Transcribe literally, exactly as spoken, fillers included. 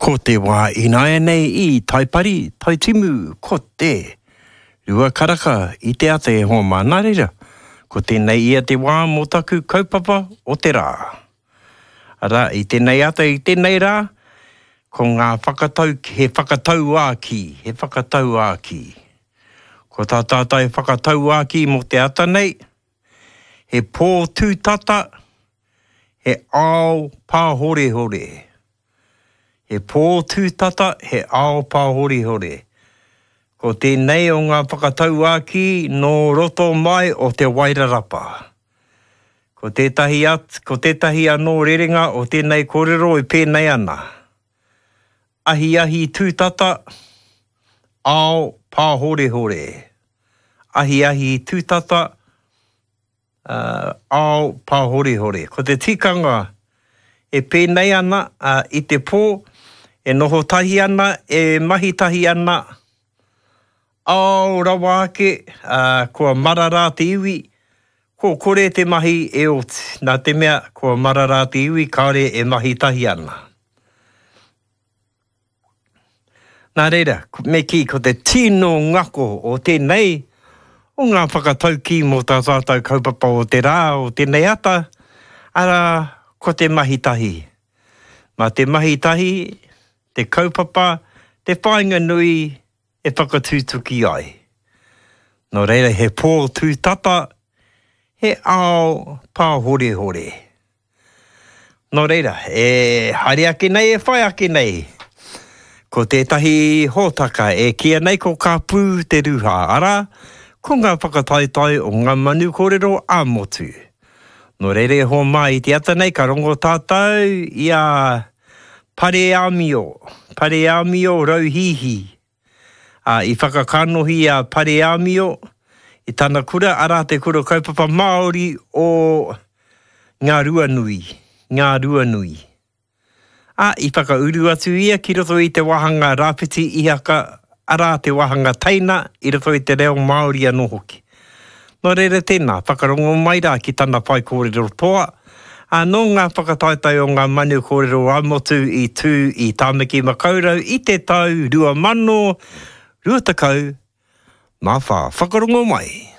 Ko te wā ināianei i Taipari, Taitimu, ko te rua karaka i te ata e hoa mā. Nā reira, ko tēnei ia te wā mō taku kaupapa o te rā. Arā, i tēnei ata, i tēnei rā, ko ngā whakatau, he whakatauākī, he whakatauākī. Ko tā tātou whakatauākī mō te ata nei, he pō tūtata, he ao pāhorehore. He pō tūtata, he ao pāhorehore. Ko tēnei o ngā whakatauākī nō roto mai o Te Wairarapa. Ko tētahi, at, ko tētahi anō rerenga o tēnei kōrero e pēnei ana. Ahiahi tūtata, ao pāhorehore. Ahiahi tūtata, uh, ao pāhorehore. Ko te tikanga e pēnei ana uh, i te pō, e noho tahi ana, e mahi tahi ana, ao rawa ake, uh, kua marara te iwi, ko kore te mahi e oti. Nā te mea, kua marara te iwi, kāore e mahi tahi ana. Nā reira, me kī, ko te tino ngako o tēnei, o ngā whakataukī mō tā tātou kaupapa o te rā, o tēnei ata, arā, ko te mahi tahi. Mā te mahi tahi, te kaupapa, te whāinga nui e whakatutuki ai. Nō reira, he pō tūtata, he ao pāhorehore. Nō reira, e haere ake nei, e whai ake nei. Ko tētahi hōtaka e kīia nei ko Ka Pū te Ruha, arā, ko ngā whakataetae o ngā manu kōrero ā-motu. Nō reira e hoa mā i te ata nei ka rongo tātou i a Pareāmio, Pareāmio Rauhihi. Ā, i whakakanohi a Pareāmio i tana kura, arā te kura kaupapa Māori o Ngā Ruanui, Ngā Ruanui. Ā, i whakauru atu ia ki roto i te wāhanga Rāwhiti Ihaka, arā te wāhanga teina i roto i te reo Māori anō hoki. Nō reira tēnā, whakarongo mai rā ki tana whaikōrero toa, ā, nō ngā whakataetae o ngā manu kōrero ā-motu i tū i Tāmaki Makaurau i te tau rua mano rua tekau mā whā. Whakarongo mai!